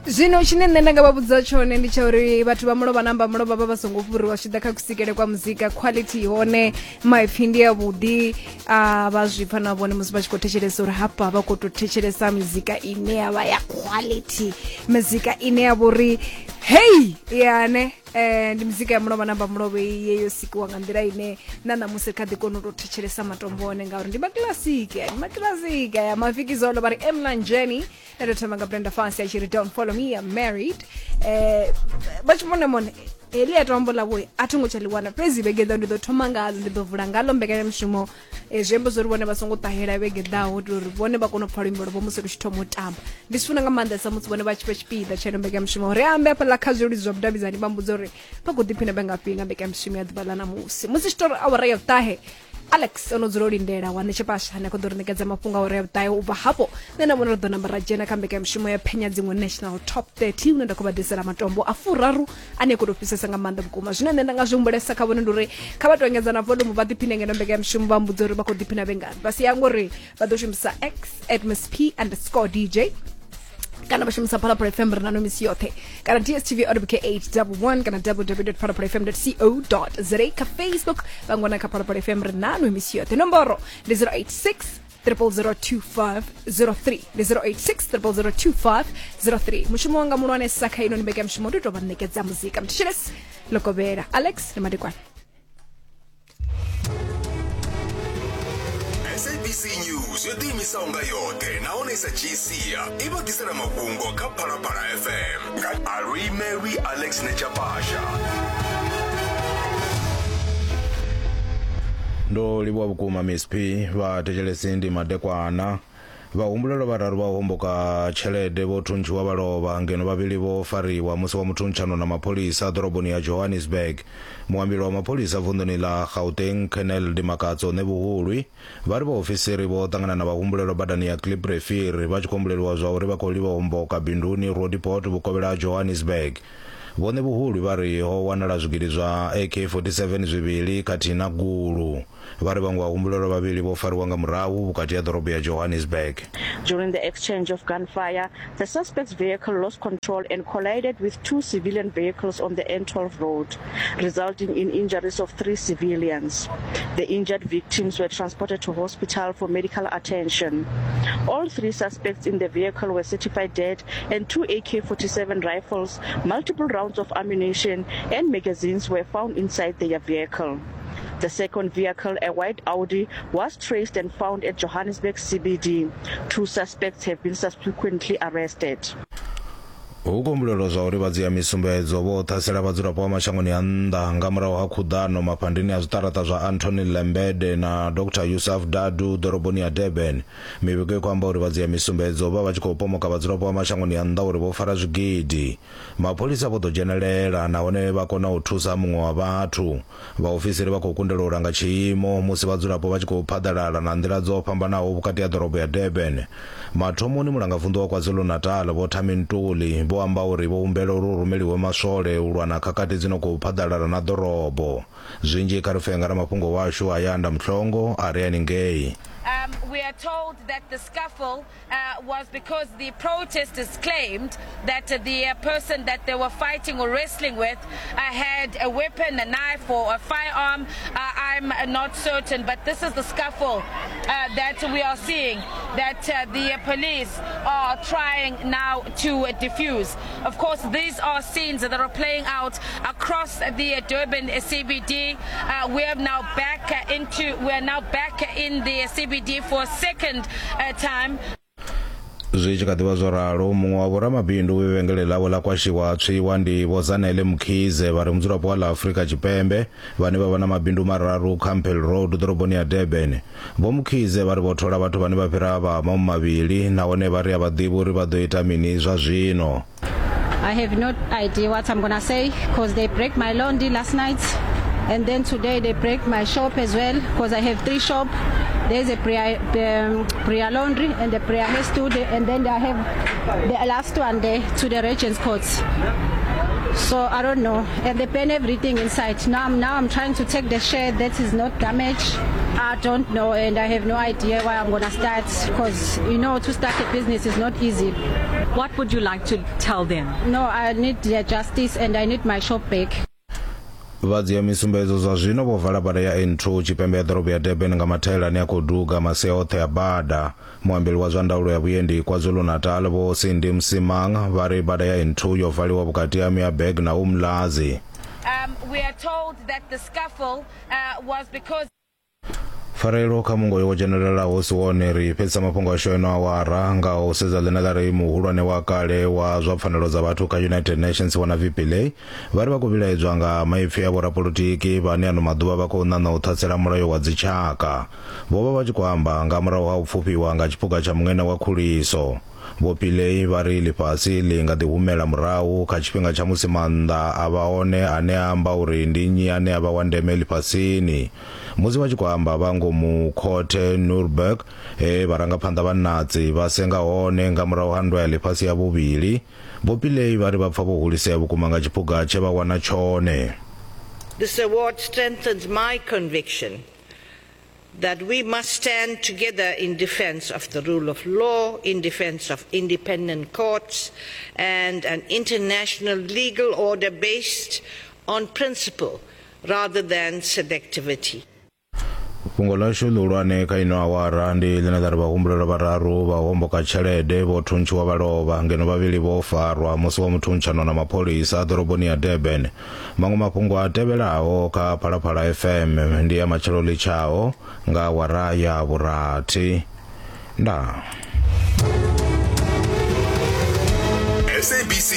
Zwino tshine nṋe nda nga vha vhudza tshone ndi tsha uri vhathu vha mulovha namba mulovha vha vha songo fhuriwa zwi tshi ḓa kha kusikele kwa muzika. Quality hone maipfi ndi a vhuḓi, a vha zwi pfa na vhone musi vha tshi khou thetshelesa uri hafha vha khou tou thetshelesa muzika ine ya vha ya quality, muzika ine ya vha uri hei yane ndi muzika ya mulovha namba mulovha iye yo sikiwa nga nḓila ine na ṋamusi kha ḓi kona u tou thetshelesa matombo one ngauri ndi makilasiki, ndi makilasiki ya mafikizolo vha ri emlanjeni. Nṋe ndo thoma nga Brenda Fassie a tshi ri don't follow me, I'm married. Vha tshi vhone mone heḽi a tombo ḽavho a tho ngo tsha ḽi wana, fhedzi vhege ḓaho ndi ḓo thoma ngalo, ndi ḓo vula ngalo mbekanyamushumo. Zwi amba zwori vhone vha songo ṱahela vhege ḓaho u itela uri vhone vha kone u pfha luimbo lwavho musi lu tshi thoma u tamba. Ndi zwi funa nga maanḓesa musi vhone vha tshi vha tshipiḓa tsha ino mbekanyamushumo. Ri ambe hafhaḽa kha zwileludzi zwa vhudavhidzani vha mbudza uri vha khou ḓiphina vhe ngafhi nga mbekanyamushumo ya ḓuvha ḽa ṋamusi. Musi tshi tou ri awara ya vhuṱahe, Alex o no dzula o lindela wa Ṋetshepasha ane a khou ḓo ri ṋekedza mafhungo a uri ya vhuṱahe. U bva hafho nṋe na vhone ri ḓo namba ra dzhena kha mbekanyamushumo ya phenya dziṅwe National Top 30 hune nda khou vha ḓisela matombo a furaru ane a khou tou fhisesa nga maanḓa vhukuma. Zwine nṋe nda nga zwi humbulesa kha vhone ndi uri kha vha tou engedza na volume vha ḓiphine ngeno mbekanyamushumo, vha mbudza uri vha khou ḓiphina vhe ngafhi. Vha si yange uri vha ḓo shumisa X at Miss P underscore DJ kana vha shumisa Phalaphala FM ri nano misi yoṱhe, kana DSTV OWK 811 kana www.phalaphalafm.co.za. Kha Facebook vha ngwana kha Phalaphala FM ri nano misi yoṱhe. Nomboro ndi 086 0002503, ndi 086 0002503. Mushumo wanga muhulwanesa kha ino ni mbekanyamushumo ndi u tou vha ṋekedza muzika. Mthetshelesi lokovhela Alex ndi madekwana. SABC News yo ḓiimisaho nga yoṱhe nahone sa dzhii sia i vha ḓisela mafhungo kha Phalaphala FM nga Aluimelwi Alex Nechapasha. Ndo livhuwa vhukuma Miss P. Vha thetshelesi ndi madekwana. Vhahumbulelwa vhararu vha u homboka tshelede vho thuntshiwa vha lovha, ngeno vhavhili vho fariwa musi wa muthuntshano na mapholisa ḓoroboni ya Johannesburg. Muambeli wa mapholisa vunḓuni ḽa Gauteng, Colonel Dimakatso Ṋevhuhulwi, vha ri vhaofisiri vho ṱangana na vhahumbulelwa badani ya Kliprivier vha tshi khou humbuleliwa zwa uri vha khou livha u homboka binduni Roodepoort vhukovhela ha Johannesburg. Vho Ṋevhuhulwi vha ri ho wanala zwigidi zwa AK-47 zwivhili khathihi na gulu. Vha ri vhaṅwe vhahumbulelwa vhavhili vho fariwa nga murahu vhukati ha ḓorobo ya Johannesburg. During the exchange of gunfire, the suspect's vehicle lost control and collided with two civilian vehicles on the N12 road, resulting in injuries of three civilians. The injured victims were transported to hospital for medical attention. All three suspects in the vehicle were certified dead and two AK-47 rifles, multiple rounds of ammunition and magazines were found inside their vehicle. The second vehicle, a white Audi, was traced and found at Johannesburg CBD. Two suspects have been subsequently arrested. Hu khou humbulelwa zwa uri vhadzia misumbedzo vho ṱhasela vhadzulapo vha mashangoni a nnḓa nga murahu ha khuḓano mafhandeni a zwiṱaraṱa zwa Anthony Lembede na Dr Yusuf Dadoo ḓoroboni ya Durban. Mivhigo i khou amba uri vhadzia misumbedzo vha vha tshi khou pomoka vhadzulapo vha mashangoni a nnḓa uri vho fara zwigidi. Mapholisa vho ḓo dzhenelela nahone vha kona u thusa muṅwe wa vhathu. Vhaofisiri vha khou kundelwa u langa tshiimo musi vhadzulapo vha tshi khou phaḓalala na nḓila dzo fhambanaho vhukati ha ḓorobo ya Durban. Mathomoni Mulangavunḓu wa KwaZulu-Natal Vho Thami Ntuli vho amba uri vho humbela uri hu rumeliwe maswole u lwa na khakhathi dzi no khou phaḓalala na ḓorobo. Zwinzhi kha ri pfe nga ramafhungo washu Ayanda Mhlongo a re haningei. We are told that the scuffle was because the protesters claimed that the person that they were fighting or wrestling with had a weapon, a knife or a firearm. I'm not certain, but this is the scuffle that we are seeing that the police are trying now to defuse. Of course, these are scenes that are playing out across the Durban CBD. We are now back into, we are now back in the CBD for a second time. Zwi tshi kha ḓi vha zwo ralo, muṅwe wa vhoramabindu vhe vhengele ḽavho ḽa kwashiwa ha tswiwa ndi Vho Zanele Mkhize vha re mudzulapo wa ḽa Afrika Tshipembe vhane vha vha na mabindu mararu Campbell Road ḓoroboni ya Durban. Vho Mkhize vha ri vho thola vhathu vhane vha fhira vha mahumi mavhili nahone vha ri a vha ḓivhi uri vha ḓo ita mini zwa zwino. I have no idea what I'm gonna say because they break my laundry last night and then today they break my shop as well because I have three shop. There's a prayer, prayer laundry and the prayer hair studio and then I have the last one there to the Regent's Court. So I don't know. And they burn everything inside. Now I'm trying to take the share that is not damaged. I don't know and I have no idea where I'm gonna start because you know to start a business is not easy. What would you like to tell them? No, I need their justice and I need my shop back. Vha dzhia misumbedzo zwa zwino vho vala bada ya N2 tshipembe ya ḓorobo ya Durban nga mathaela ane a khou duga masia oṱhe a bada. Muambeli wa zwa ndaulo ya vhuendi KwaZulu-Natal Vho Cindy Msimang vha ri bada ya N2 yo valiwa vhukati ha Meerburg na Umlazi. Um, we are told that the scuffle uh, was because Pfarelo kha mungoyo wo dzhenelelaho si wone ri fhedzisa mafhungo ashu eno awara nga u sedza ḽine ḽa ri muhulwane wa kale wa zwa pfanelo dza vhathu kha United Nations Vho Navi Pillay vha ri vha khou vhilaedzwa nga maipfi a vhorapolotiki vhane ano maḓuvha vha khou ṋaṋa u ṱhasela mulayo wa dzitshaka. Vho vha vha tshi khou amba nga murahu ha u pfufhiwa nga tshiphuga tsha muṅene wa khuliso. Vho Pillay vha ri ḽifhasi ḽi nga ḓi humela murahu kha tshifhinga tsha musi maanḓa a vha one ane a amba uri ndi nnyi ane a vha wa ndeme ḽifhasini. Musi vha tshi khou amba vha ngomu khothe Nuremberg he vharangaphanḓa vha Nazi vha senga hone nga murahu ha Nndwa ya Ḽifhasi ya Vhuvhili, Vho Pillay vha ri vha pfa vho hulisea vhukuma nga tshiphuga tshe vha wana tshone. This award strengthens my conviction that we must stand together in defense of the rule of law, in defense of independent courts, and an international legal order based on principle rather than selectivity. Fhungo ḽashu ḽihulwane kha ino awara ndi ḽine ḽa ri vhahumbulelwa vhararu vha u homboka tshelede vho thuntshiwa vha lovha ngeno vhavhili vho farwa musi wa muthuntshano na mapholisa ḓoroboni ya Durban. Maṅwe mafhungo a tevhelaho kha Phalaphala FM ndi a matshelo ḽitshaho nga awara ya vhurathi. Ndaa. SABC.